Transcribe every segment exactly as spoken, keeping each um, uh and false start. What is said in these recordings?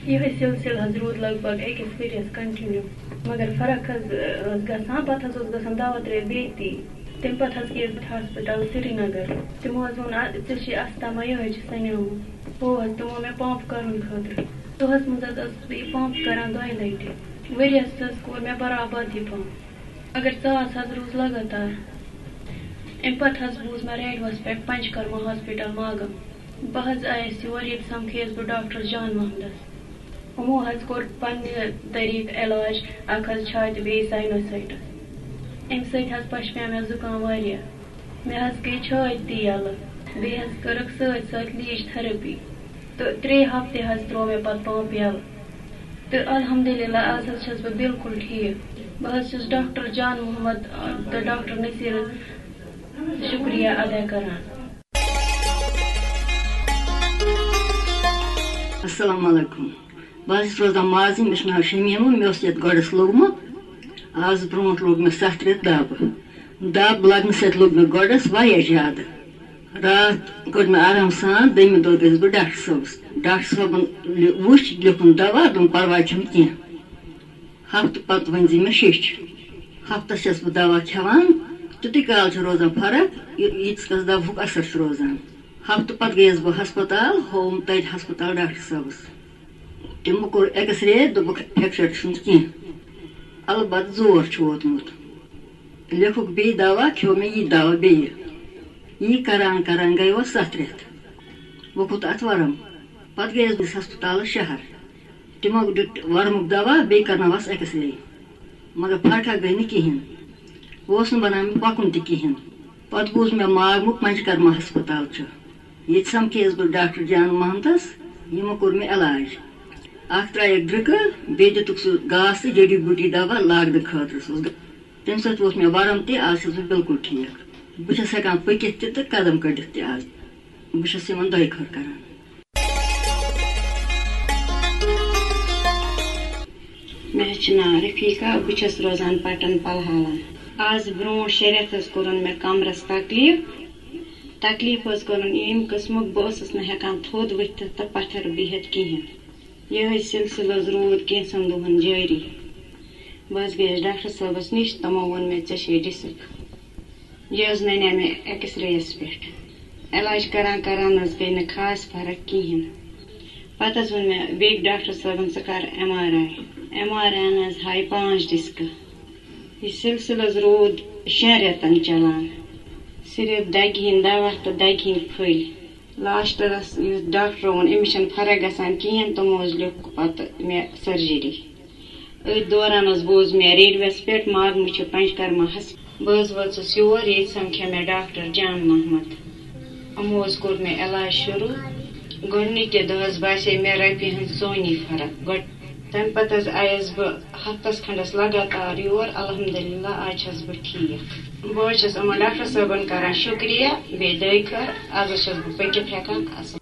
یِہوٚے سلسلہٕ حظ روٗد لگ بگ أکِس ؤرِیَس کنٹِنیو، مگر فرق حظ ٲس گژھان۔ پتہٕ حظ اوس گژھان دوا ترٛیش بیٚیہِ تی۔ تمہِ پتہٕ حظ گٔیَس بہٕ ہسپتال سرینگر۔ تِمو حظ ووٚن، "آ، ژےٚ چھے استھما، یِہوٚے چھُ سنیومُت۔" ہو حظ، تِمو مےٚ پمپ کرُن خٲطرٕ۔ دۄہس منٛز حظ ٲسٕس بہٕ یہِ پمپ کران دۄیہِ لٹہِ۔ ؤرِیَس حظ کوٚر مےٚ برابر یہِ پمپ، مگر ژاس حظ روٗز لگاتار۔ امہِ پتہٕ حظ بوٗز مےٚ ریڈیوَس پٮ۪ٹھ پنچکرما ہاسپٹل ماگام۔ بہٕ حظ آیَس یور، ییٚتہِ سمکھیَس بہٕ ڈاکٹر جان محمدس۔ یِمو حظ کوٚر پننہِ طریٖقہٕ علاج، اکھ حظ چھاتہِ، بیٚیہِ ساینوسائٹس۔ امہِ سۭتۍ حظ پشپیو مےٚ زُکام واریاہ۔ مےٚ حظ گٔے چھاتۍ تہِ یَلہٕ، بیٚیہِ حظ کٔرٕکھ سۭتۍ سۭتۍ لیٖچ تھراپی، تہٕ ترٛےٚ ہفتہٕ حظ ترٛوو مےٚ پتہٕ پمپ یَلہٕ۔ تہٕ الحمدللہ، آز حظ چھَس بہٕ بالکل ٹھیٖک۔ بہٕ حظ چھَس ڈاکٹر جان محمد، آ، تہٕ ڈاکٹر نصیرَس شُکریہ ادا کران۔ السلام علیکم۔ بہٕ حظ چھَس روزان مازٕنۍ، مےٚ چھُ ناو شمیٖمہ، مےٚ اوس یَتھ گۄڈَس لوٚگمُت۔ آز برونٛٹھ لوٚگ مےٚ ستھ رٮ۪تھ دَب۔ دَب لَگنہٕ سۭتۍ لوٚگ مےٚ گۄڈَس واریاہ زیادٕ۔ راتھ کوٚر مےٚ آرام سان، دوٚیمہِ دۄہ گٔیَس بہٕ ڈاکٹر صٲبَس۔ ڈاکٹر صٲبَن لِ-، وُچھ، لیوٚکھُن دَوا، دوٚپُن، "پَرواے چھُنہٕ کینٛہہ۔ ہفتہٕ پَتہٕ ؤنۍ زِ مےٚ شیٚچھ۔" ہفتَس چھَس بہٕ دَوا کھٮ۪وان، تیُتُے کال چھُ روزان فرق، یہِ-، ییٖتِس کالَس دَوہُک اثر چھُ روزان۔ ہفتہٕ پَتہٕ گٔیَس بہٕ ہسپتال، ہووُم تَتہِ ہسپتال ڈاکٹر صٲبَس۔ تِمو کوٚر ایکس رے، دوٚپُکھ، "فریکچر چھُنہٕ کینٛہہ، البتہٕ زور چھُ ووتمُت۔" لیوٚکھُکھ بیٚیہِ دوا، کھیوٚو مےٚ یہِ دوا بیٚیہِ۔ یی کران کران گٔے وۄنۍ ستھ رٮ۪تھ۔ وۄنۍ کھوٚت اتھ ورم۔ پتہٕ گٔیس بہٕ ہسپتالس شہر۔ تِمو دیُت ورمُک دوا، بیٚیہِ کرنٲوس ایکس رے، مگر فرقہ گٔے نہٕ کِہیٖنۍ۔ اوس نہٕ بنان مےٚ پکُن تہِ کِہیٖنۍ۔ پتہٕ بوٗز مےٚ ماگمُک پنچکرما ہسپتال چھُ۔ ییٚتہِ سمکھییس بہٕ ڈاکٹر جان محمدس، یِمو کوٚر مےٚ علاج۔ اکھ ترٛایَکھ ڈرٛکہٕ، بیٚیہِ دِتُکھ سُہ گاسہٕ جڑی بوٗٹی دوا لاگنہٕ خٲطرٕ۔ سُہ اوس، تَمہِ سۭتۍ ووت مےٚ ورم تہِ، آز چھَس بہٕ بالکل ٹھیٖک۔ بہٕ چھَس ہٮ۪کان پٔکِتھ تہِ تہٕ قدم کٔڑِتھ تہِ آز۔ بہٕ چھَس یِمن دۄیہِ خٲر کران۔ مےٚ حظ چھُ ناو رفیقہ، بہٕ چھَس روزان پٹن پلہالہ۔ آز برونٛٹھ شےٚ رٮ۪تھ حظ کوٚرُن مےٚ کمرس تکلیف۔ تکلیف حظ کوٚرُن ییٚمہِ قٕسمُک، بہٕ ٲسٕس نہٕ ہٮ۪کان تھوٚد ؤتھِتھ تہٕ پتھر بِہِتھ کِہیٖنۍ۔ یِہوٚے سلسلہٕ حظ روٗد کینٛژھن دۄہن جٲری۔ بہٕ حظ گٔیَس ڈاکٹر صٲبَس نِش، تِمو ووٚن مےٚ، "ژےٚ چھے ڈِسک۔" یہِ حظ نَنیٛاو مےٚ ایکس رییَس پٮ۪ٹھ۔ علاج کران کران حظ گٔے نہٕ خاص فرق کِہیٖنۍ۔ پتہٕ حظ ووٚن مےٚ بیٚکۍ ڈاکٹر صٲبَن، "ژٕ کر M R I." M R I یَن حظ ہاے پانٛژھ ڈِسکہٕ۔ یہِ سلسلہٕ حظ روٗد شٮ۪ن رٮ۪تن چلان۔ صرف دگہِ ہٕنٛدۍ دوا تہٕ دگہِ ہٕنٛدۍ پھٔلۍ۔ لاسٹس یُتھ ڈاکٹرو ووٚن، "أمِس چھَنہٕ فرق گژھان کِہیٖنۍ"، تِمو حظ لیوٚکھ پتہٕ مےٚ سرجری۔ أتھۍ دوران حظ بوٗز مےٚ ریڈیوَس پٮ۪ٹھ ماگمہٕ چھُ پنچکرماہَس۔ بہٕ حظ وٲژٕس یور، ییٚتہِ سمکھے مےٚ ڈاکٹر جان محمد۔ یِمو حظ کوٚر مےٚ علاج شروٗع۔ گۄڈٕنِکہِ دۄہ حظ باسے مےٚ رۄپیہِ ہٕنٛز ژونی فرق۔ گۄڈٕ، تَمہِ پتہٕ حظ آیَس بہٕ ہفتس کھنٛڈس لگاتار یور۔ الحمدللہ، آز چھَس بہٕ ٹھیٖک۔ بہٕ حظ چھَس یِمَن ڈاکٹر صٲبَن کران شُکریہ، بیٚیہِ دۄیہِ خٲر، آز حظ چھَس بہٕ پٔکِتھ ہٮ۪کان اَصٕل۔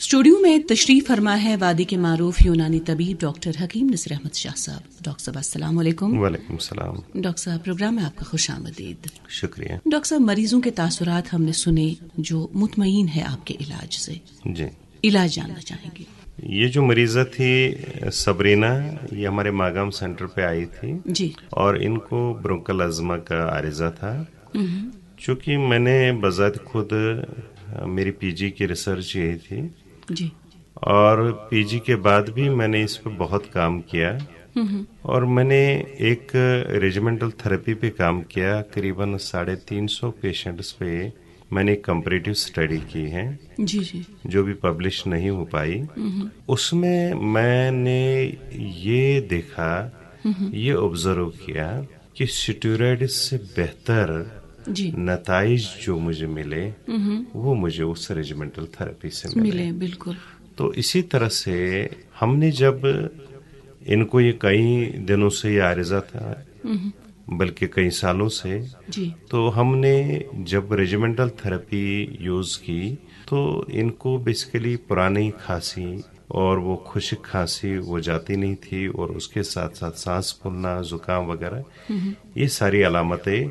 اسٹوڈیو میں تشریف فرما ہے وادی کے معروف یونانی طبیب ڈاکٹر حکیم نصیر احمد شاہ صاحب۔ ڈاکٹر صاحب، السلام علیکم۔ وعلیکم السلام۔ ڈاکٹر صاحب، پروگرام میں آپ کا خوش آمدید۔ شکریہ۔ ڈاکٹر صاحب، مریضوں کے تاثرات ہم نے سنے جو مطمئن ہے آپ کے علاج سے۔ جی۔ علاج جاننا چاہیں گے۔ یہ جو مریضہ تھی، صبرینا، یہ ہمارے ماگام سینٹر پہ آئی تھی۔ جی۔ اور ان کو برونکل ازما کا عارضہ تھا۔ ہم۔ چونکہ میں نے بذات خود، میری پی جی کی ریسرچ یہی تھی۔ جی۔ اور پی جی کے بعد بھی میں نے اس پہ بہت کام کیا۔ ہم۔ اور میں نے ایک ریجیمنٹل تھراپی پہ کام کیا، قریباً ساڑھے تین سو پیشنٹس پہ میں نے ایک کمپریٹو اسٹڈی کی ہے، جی، جی۔ جو بھی پبلش نہیں ہو پائی۔ ہم۔ اس میں میں نے یہ دیکھا، ہم۔ یہ آبزرو کیا کہ اسٹیرائڈ سے بہتر، جی۔ نتائج جو مجھے ملے، ہم۔ وہ مجھے اس ریجیمنٹل تھراپی سے ملے۔ ملے، بالکل۔ تو اسی طرح سے ہم نے جب ان کو، یہ کئی دنوں سے یہ عارضہ تھا، ہم۔ بلکہ کئی سالوں سے، جی۔ تو ہم نے جب ریجیمنٹل تھراپی یوز کی تو ان کو بیسیکلی پرانی کھانسی اور وہ خشک کھانسی وہ جاتی نہیں تھی، اور اس کے ساتھ ساتھ سانس پھولنا، زکام وغیرہ، ہم۔ یہ ساری علامتیں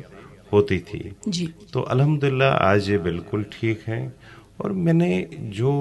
ہوتی تھی۔ جی۔ تو الحمدللہ آج یہ بالکل ٹھیک ہیں۔ اور میں نے جو